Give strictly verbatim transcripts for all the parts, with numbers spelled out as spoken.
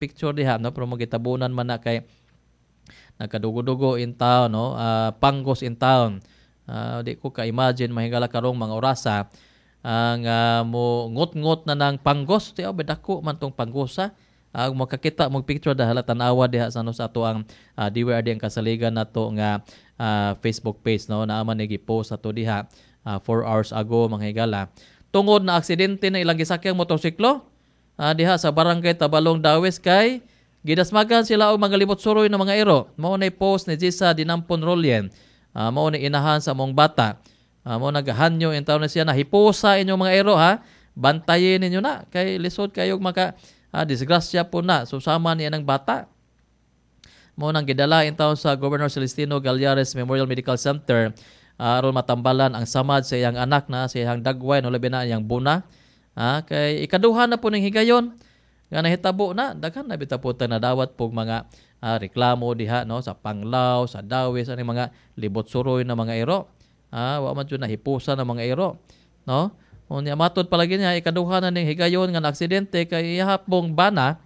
Picture diha, no, pero magitabunan man na kay nagkadugo-dugo in town, no, uh, panggos in town. Uh, di ko ka-imagine, mahigala, karong mga orasa ang uh, mo ngot-ngot na ng panggos. Ti dako man tong panggosa. Uh, makakita mo picture dahil tan-awa diha sa, no, sa ato ang uh, D Y R D ang kasaligan nato nga uh, Facebook page, no, naa man ni gi-post ato diha four uh, hours ago, mga higala, tungod na aksidente na ilang gisakyang motorsiklo uh, diha sa Barangay Tabalong, Dawis, kay gidasmagan sila og mga libot suroy na mga iro. Mao na post ni Jisa Dinampon Rolien. Uh, mao ni inahan sa mong bata. Uh, mao nagahanyo in taon na siya na hipusa inyong mga iro ha. Bantayin ninyo na kay lisod kayo maka uh, disgrasya po na. So sama niya ng bata. Mao nang gidala in taon sa Governor Celestino Gallares Memorial Medical Center uh, aron matambalan ang samad sa iyang anak na sa iyang dagway, no, labi na iyang buna. Ah, kay ikaduha na po ning higayon nga nahitabo na. Daghan na bitaw po na dawat pog mga uh, reklamo diha, no, sa Panglao, sa Dawis, ani mga libot suroy na mga iro. Ah, wa man jud nahipusa na mga iro, no. Unya matod palagi niya, ikaduha na ning higayon nga aksidente kay ihapong bana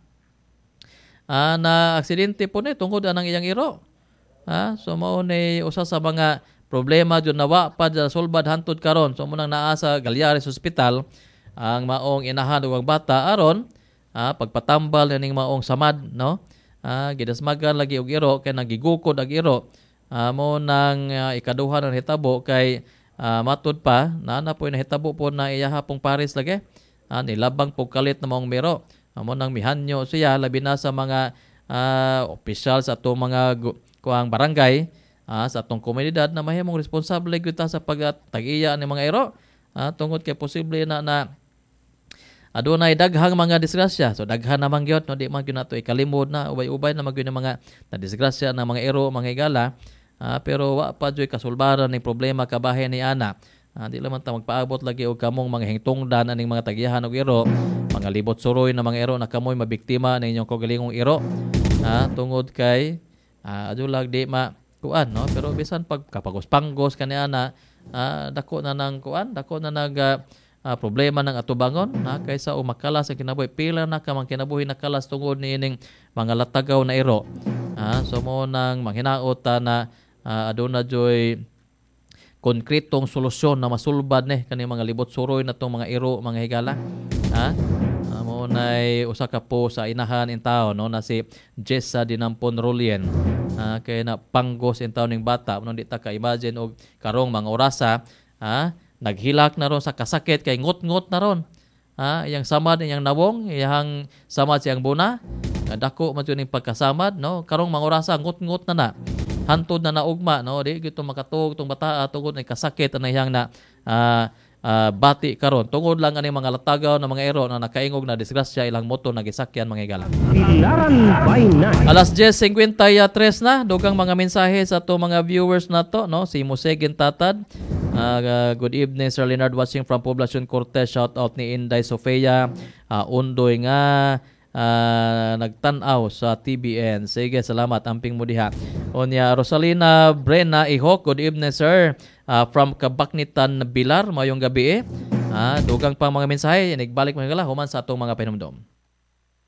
ah, na aksidente po ni tungod anang iyang iro. Ah, so mao ni usa sa mga problema jud na wa pa sulbad hantud karon. So mo nang naa sa Gallares Hospital ang maong inahan ug ang bata aron ah, pagpatambal ning maong samad, no. Ah, gidasmagan lagi og iro kay nagigukod ag iro. Ah, mo nang uh, ikaduha na hitabo kay uh, matud pa na na po nahitabo po na iyaha pong pares lagi. Ah, nilabang po kalit na maong miro. Ah, mo nang mihanyo siya labi na sa mga uh, opisyal sa atong mga kuang barangay, ah, sa atong komunidad na mahimong responsable gyud ta sa pagtag-iya ni mga iro. Ah, tungod kay posible na na adunay daghang mga disgrasya. So daghan naman gyud, no, di man gyud nato ikalimod na ubay-ubay na magyud mga na disgrasya na mga iro, mga higala. Uh, pero wa pa jud kasulbaran ni problema kabahin ni ana. Uh, di lang man ta magpaabot lagi og kamong mga hingtungdan aning mga tagyahan og iro, mga libot suroy na mga iro na kamoy mabiktima ng inyong kaugalingong iro. Uh, tungod kay uh, adulag di ma kuan, no, pero bisan pag kapagos-panggos kani ana, uh, dako na nang kuan, dako na nag uh, uh, problema ng atubangon na kaysa umakalas ang kinabuhi. Pila na ka mang kinabuhi nakalas tungod niining mga latagaw na iro. Ah, so mo nang manghinaot ta na uh, aduna joy konkretong solusyon na masulbad ni kani mga libot suroy na tong mga iro, mga higala, ha. Uh, mo nay usa ka po sa inahan in taon, no, na si Jessa Dinampon Rolien. Uh, kay na panggos in taon ning bata no, di ta ka imagine og karong mga orasa, ha, naghilak na ron sa kasakit kay ngot-ngot na ron. Ha, iyang samad, iyang nawong, iyang samad siyang buna. Dako man ning pagkasamad, no? Karong mga orasa ngot-ngot na na. Hantod na naugma, no? Di gyud makatuog tong bata tungod ni kasakit na iyang na uh, uh, bati karon. Tungod lang ani mga latagaw na mga ero na nakaingog na disgrasya ilang moto na gisakyan, mga higala. Bilaran by night. Alas diyes singkwenta y tres na, dugang mga mensahe sa ato mga viewers nato, no? Si Musegin Tatad. Uh, good evening, Sir Leonard, watching from Poblacion Cortez. Shout out ni Inday Sofia uh, Undoy nga uh, nagtan-aw sa T B N. Sige, salamat. Amping mo diha. Onya Rosalina Brena Ihok, good evening, sir. Uh, from Kabaknitan, Bilar, mayong gabi eh. Ah, dugang pang mga mensahe, nagbalik mga gala human sa atong mga pahinumdom.